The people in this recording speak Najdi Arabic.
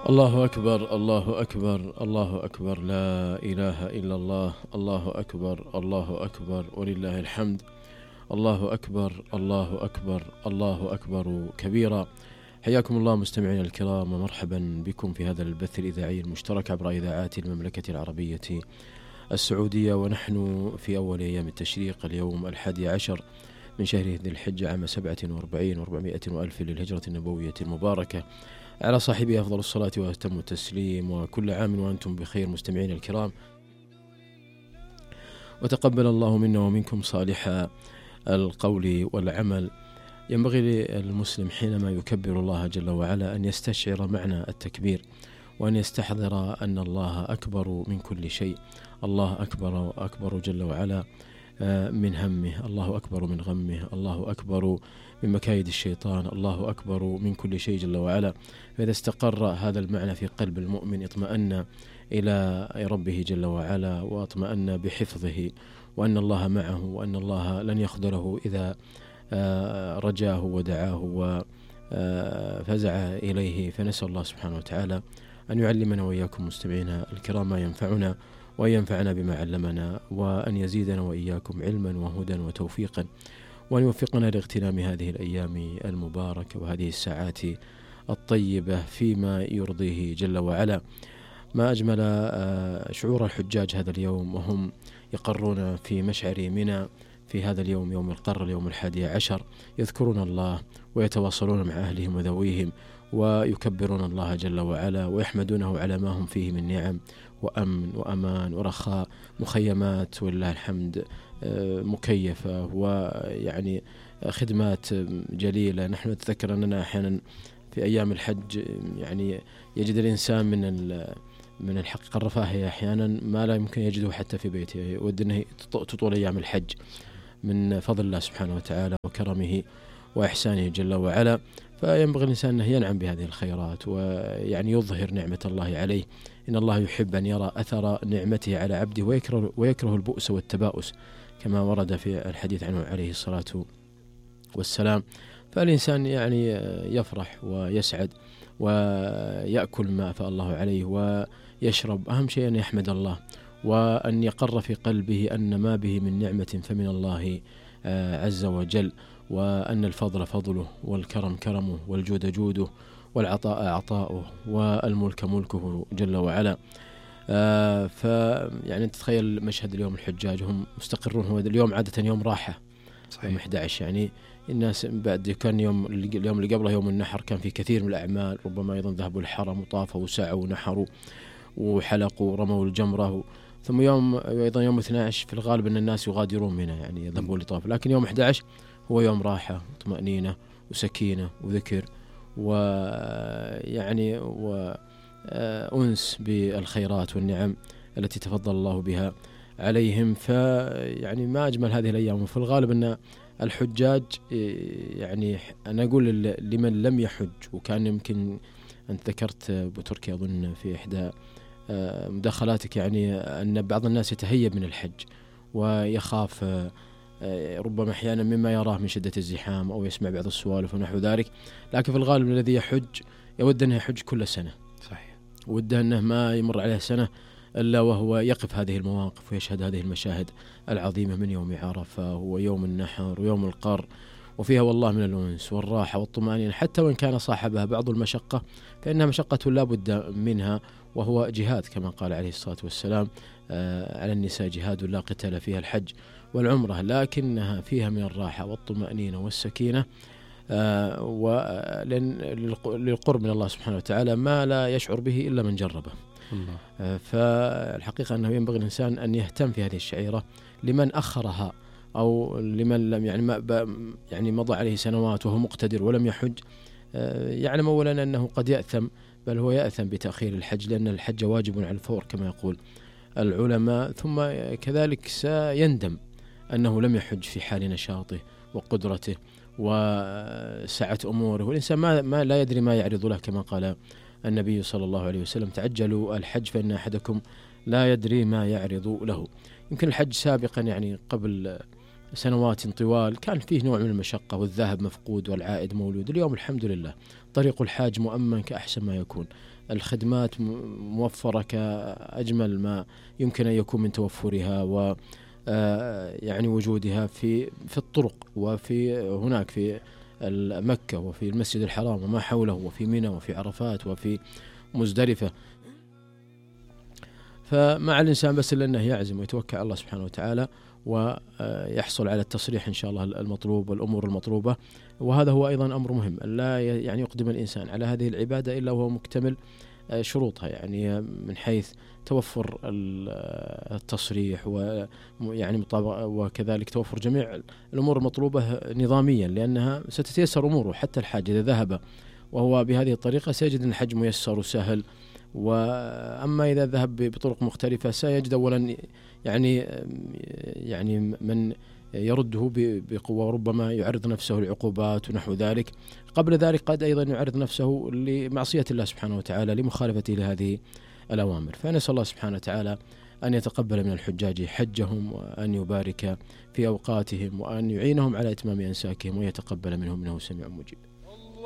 الله أكبر الله أكبر الله أكبر، لا إله إلا الله، الله أكبر الله أكبر ولله الحمد. الله أكبر الله أكبر الله أكبر كبيرا. حياكم الله مستمعينا الكرام، ومرحبا بكم في هذا البث الإذاعي المشترك عبر إذاعات المملكة العربية السعودية، ونحن في أول أيام التشريق، اليوم 11 من شهر ذي الحجة عام 47 و400 وألف للهجرة النبوية المباركة، على صاحبه أفضل الصلاة وأتم التسليم، وكل عام وأنتم بخير مستمعين الكرام، وتقبل الله منا ومنكم صالح القول والعمل. ينبغي للمسلم حينما يكبر الله جل وعلا أن يستشعر معنى التكبير، وأن يستحضر أن الله أكبر من كل شيء. الله أكبر أكبر جل وعلا من همه، الله أكبر من غمه، الله أكبر من مكايد الشيطان، الله أكبر من كل شيء جل وعلا. فإذا استقر هذا المعنى في قلب المؤمن اطمأن إلى ربه جل وعلا، واطمأن بحفظه، وأن الله معه، وأن الله لن يخذله إذا رجاه ودعاه وفزع إليه. فنسأل الله سبحانه وتعالى أن يعلمنا وإياكم مستمعينا الكرام ما ينفعنا، وأن ينفعنا بما علمنا، وأن يزيدنا وإياكم علما وهدى وتوفيقا، وأن يوفقنا لاغتنام هذه الأيام المباركة وهذه الساعات الطيبة فيما يرضيه جل وعلا. ما أجمل شعور الحجاج هذا اليوم وهم يقرون في مشعر منى في هذا اليوم، يوم القر، اليوم 11، يذكرون الله ويتواصلون مع أهلهم وذويهم، ويكبرون الله جل وعلا، ويحمدونه على ما هم فيه من نعم وأمن وأمان ورخاء، مخيمات ولله الحمد مكيفة، ويعني خدمات جليلة. نحن نتذكر أننا أحيانا في أيام الحج يعني يجد الإنسان من الحقيقة الرفاهية أحيانا ما لا يمكن يجده حتى في بيته، يود أنه تطول أيام الحج من فضل الله سبحانه وتعالى وكرمه وإحسانه جل وعلا. فينبغي الإنسان أنه ينعم بهذه الخيرات، ويعني يظهر نعمة الله عليه. إن الله يحب أن يرى أثر نعمته على عبده، ويكره البؤس والتباؤس، كما ورد في الحديث عنه عليه الصلاة والسلام. فالإنسان يعني يفرح ويسعد ويأكل ما أفاء الله عليه ويشرب، أهم شيء أن يحمد الله، وأن يقر في قلبه أن ما به من نعمة فمن الله عز وجل، وأن الفضل فضله، والكرم كرمه، والجود جوده، والعطاء عطاؤه، والملك ملكه جل وعلا. فيعني تتخيل مشهد اليوم الحجاج هم مستقرون، هو اليوم عادة يوم راحة، صحيح. يوم 11 يعني الناس بعد كان اليوم اللي قبله يوم النحر كان في كثير من الأعمال، ربما أيضا ذهبوا الحرم وطافوا وسعوا ونحروا وحلقوا ورموا الجمرة، ثم أيضا يوم 12 في الغالب أن الناس يغادرون منه، يعني يذهبون لطاف. لكن يوم 11 هو يوم راحة وطمأنينة وسكينة وذكر، ويعني وأنس بالخيرات والنعم التي تفضل الله بها عليهم. فيعني ما أجمل هذه الأيام. وفي الغالب أن الحجاج يعني أنا أقول لمن لم يحج، وكان يمكن أنت ذكرت بتركيا أظن في إحدى مداخلاتك يعني أن بعض الناس يتهيب من الحج ويخاف ربما أحيانا مما يراه من شدة الزحام، أو يسمع بعض السوالف ونحو ذلك. لكن في الغالب الذي يحج يود أنه يحج كل سنة، صحيح، وده أنه ما يمر عليه سنة إلا وهو يقف هذه المواقف ويشهد هذه المشاهد العظيمة من يوم عرفة ويوم النحر ويوم القر، وفيها والله من الأنس والراحة والطمأنينة، حتى وإن كان صاحبها بعض المشقة فإنها مشقة لا بد منها، وهو جهاد كما قال عليه الصلاة والسلام على النساء جهاد لا قتال فيها الحج والعمرة، لكنها فيها من الراحة والطمأنينة والسكينة للقرب من الله سبحانه وتعالى ما لا يشعر به إلا من جربه. فالحقيقة أنه ينبغي الإنسان أن يهتم في هذه الشعيرة لمن أخرها، أو لمن لم يعني مضى عليه سنوات وهو مقتدر ولم يحج، يعلم أولا أنه قد يأثم، بل هو يأثم بتأخير الحج، لأن الحج واجب على الفور كما يقول العلماء، ثم كذلك سيندم أنه لم يحج في حال نشاطه وقدرته وسعة أموره. والإنسان ما لا يدري ما يعرض له، كما قال النبي صلى الله عليه وسلم: تعجلوا الحج فإن أحدكم لا يدري ما يعرض له. يمكن الحج سابقا يعني قبل سنوات طوال كان فيه نوع من المشقة، والذهب مفقود والعائد مولود. اليوم الحمد لله طريق الحاج مؤمن كأحسن ما يكون، الخدمات موفرة كأجمل ما يمكن أن يكون من توفرها و يعني وجودها في الطرق، وفي هناك في مكة وفي المسجد الحرام وما حوله، وفي منى وفي عرفات وفي مزدلفة. فمع الإنسان بس إلا أنه يعزم ويتوكل على الله سبحانه وتعالى ويحصل على التصريح إن شاء الله المطلوب والأمور المطلوبة. وهذا هو أيضا أمر مهم، لا يعني يقدم الإنسان على هذه العبادة إلا وهو مكتمل شروطها، يعني من حيث توفر التصريح ويعني وكذلك توفر جميع الأمور المطلوبة نظاميا، لأنها ستتيسر أموره. حتى الحاج إذا ذهب وهو بهذه الطريقة سيجد أن الحج ميسر وسهل، وأما إذا ذهب بطرق مختلفة سيجد أولا يعني من يرده بقوة، وربما يعرض نفسه لعقوبات ونحو ذلك. قبل ذلك قد أيضا يعرض نفسه لمعصية الله سبحانه وتعالى لمخالفته لهذه الأوامر. فنسأل الله سبحانه وتعالى أن يتقبل من الحجاج حجهم، وأن يبارك في أوقاتهم، وأن يعينهم على إتمام أنساكهم، ويتقبل منهم إنه سميع مجيب.